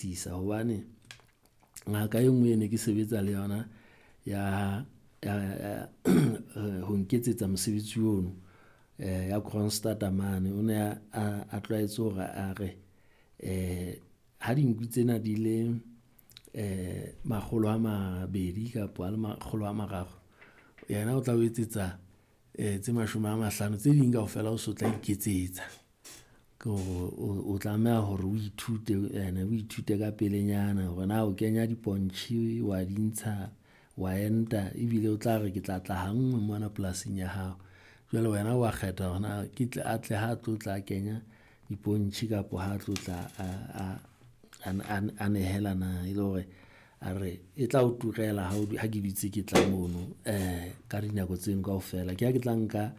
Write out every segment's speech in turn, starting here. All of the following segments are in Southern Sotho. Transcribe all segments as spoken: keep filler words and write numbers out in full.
Tisa hobane ngaka e nngwe e ne ke sebetsa le yona ya ya ya ho nketsetsa mosebetsi ono ya Kroonstad mane. O ne a a tlwaetse hore a re ha dinku tsena di le makgolo a mabedi kapo a le makgolo a mararo, yena o tla o etsetsa tse mashome a mahlano, tse ding kaofela o so tla iketsetsa. Ke hore o tlameha hore o ithute ene o ithute ka pelenyana hore na o kenya dipontjhe wa di ntsha, wa enta ebile o tla re ke tla tla ha nngwe mona polasing ya hao. Jwale wena wa kgetha hore na ke tle a tle ha tlo tla kenya dipontjhe kapo ha tlo tla a a a a nehela na. E le hore a re e tla o turela ha o ha ke dutse ke tla mono ka dinako tseno kaofela. Ke ha ke tla nka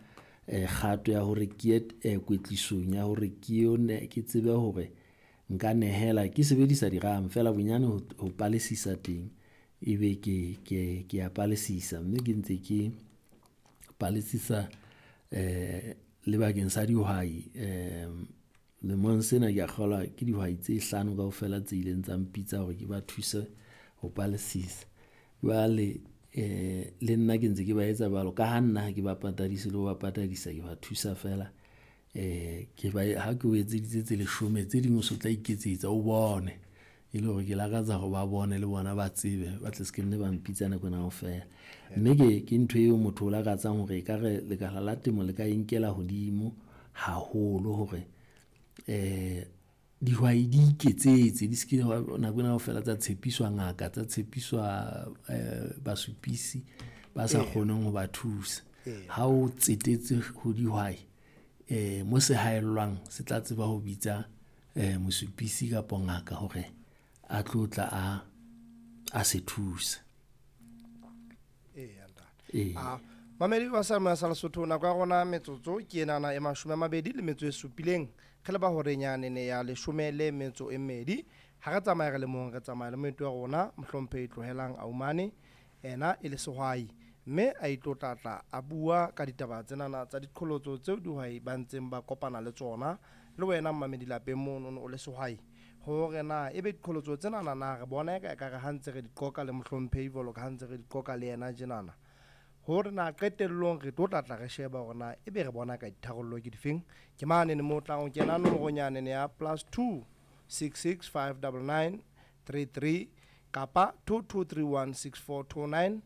kgato ya hore ke ye kwetlisong ya hore ke yo ke tsebe hore nka nehela ke sebedisa diramo feela bonyane ho ho palesisa teng, ebe ke ke ke ya palesisa, mme ke ntse ke palesisa le bakeng sa dihwai lemong sena ke a kgolwa ke dihwai tse hlano kaofela tse ileng tsa mpitsa hore ke ba thuse ho palesisa. Jwale le nna ke ntse ke ba etsa jwalo ka ha nna ha ke ba patadise le ho ba patadisa, ke ba thusa feela. Ke ba ha ke o etseditse tse leshome, tse ding o so tla iketsetsa o bone. E le hore ke lakatsa hore ba bone le bona ba tsebe, ba tle se ke nne ba mpitsa nako ena kaofela. Mme ke ke ntho eo motho o lakatsang hore ekare lekala la temo le ka e nkela hodimo haholo hore dihwai di iketsetse, di ske nako ena kaofela tsa tshepiswa ngaka, tsa tshepiswa basupisi ba sa kgoneng ho ba thusa. Ha o tsetetse ho dihwai mo se haellwang se tla tseba ho bitsa mosupisi kapo ngaka hore a tlo tla a, a se thusa. Eya, ntate. Ee. Ah, mamedi wa sa sa Lesotho, nako ya rona metsotso ke enana e mashome a mabedi le metso e supileng. Re leba horeng yanene ya leshome le metso e mmedi. Ha re tsamaye re le mong, re tsamaya le moeti wa rona, mohlomphehi Tlohelang Aumane, ena e le sehwai. Mme a itlo tlatla a bua ka ditaba tsenana tsa diqholotso tseo dihwai ba ntseng ba kopana le tsona. Le wena mmamedi lapeng monono o le sehwai, hore na ebe diqholotso tsenana na re bona eka ekare ha ntse re di qoqa le mohlomphehi jwalo ka ha ntse re di qoqa le yena tjenana. Hore na qetellong re tlo tlatla re sheba hore na ebe re bona ka ditharollo ke difeng. Ke manene moo tlang ho kena nomorong yanene ya plus two six six five double nine three three kapa two two three one six four two nine.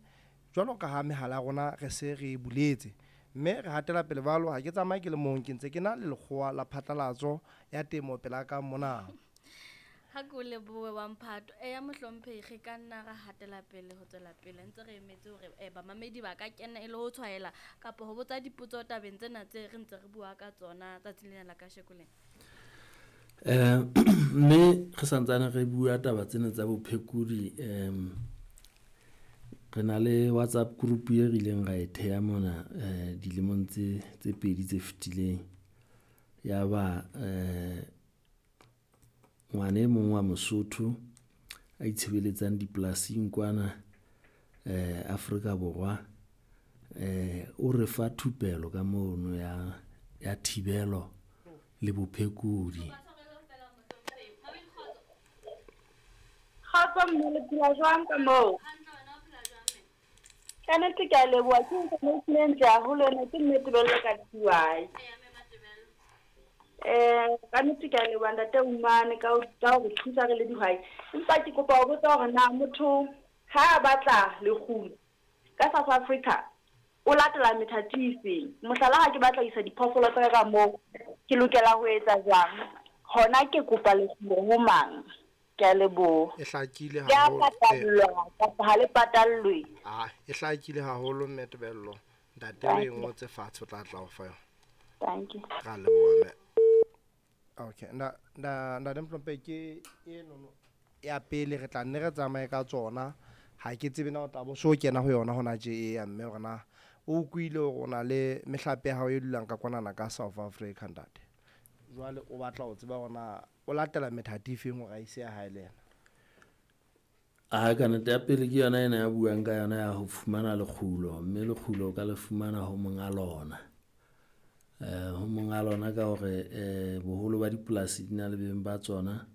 Jwalo ka ha mehala ya rona re se re e buletse. Mme re hatela pele jwalo, ha ke tsamaye ke le mong, ke ntse ke na le lekgowa la phatlalatso ya temo pela ka mona. Ha ke o lebohe wa mphato. Eya mohlomphehi, re ka nna ra hatela pele ho tswela pele ntse re emetse hore bamamedi ba ka kena e le ho tshwaela kapa ho botsa dipotso tabeng tsena tse re ntse re bua ka tsona tsatsing lena la kasheko lena. Mme re santsane re bua taba tsena tsa bophekodi re na le WhatsApp group e re ileng ra e theha mona dilemong tse tse pedi tse fetileng. Ya ba ngwana e mong wa Mosotho a itshebeletsang dipolasing kwana Afrika Borwa, o re fa thupelo ka mono ya, ya thibelo le bophekodi. Kgotso mme, le phela jwang ka moo? Ka nnete ke a leboha, ke information e ntle haholo ena, ke mme Tebello ka T Y. Eh, ka nnete ke a leboha ntate Umane ka ho, ka ho re thusa re le dihwai. Empa ke kopa ho botsa hore na motho ha a batla lekgulo ka South Africa o latela methati efeng? Mohlala, ha ke batla ho isa diphoofolo tsa ka ka moo, ke lokela ho etsa jwang? Hona ke kopa lekgulo ho mang? Ke a leboha. E hlakile Ke a haholo. patallwa kapa ha le patallwe? Ah, e hlakile haholo mme Tebello. Ntate o e ngotse fatshe, o tla tla o fa yona. Thank you. Ra leboha mme. Okay, nda nda ntate Mohlomphehi, ke e nono ya pele re tla nne re tsamaye ka tsona. Ha ke tsebe na o tla bo so kena ho yona hona tje e ya mme hore na o utlwile hore o na le mehlape ya hao e dulang ka kwanana ka South Africa ntate. Jwale o batla ho tseba hore na o latela methati efeng hore a ise ya hae le yena. Ah, ka nnete ya pele ke yona ena ya buang ka yona ya ho fumana lekgulo, mme lekgulo o ka le fumana ho monga lona. Ho monga lona ka hore boholo ba dipolasi di na le beng ba tsona.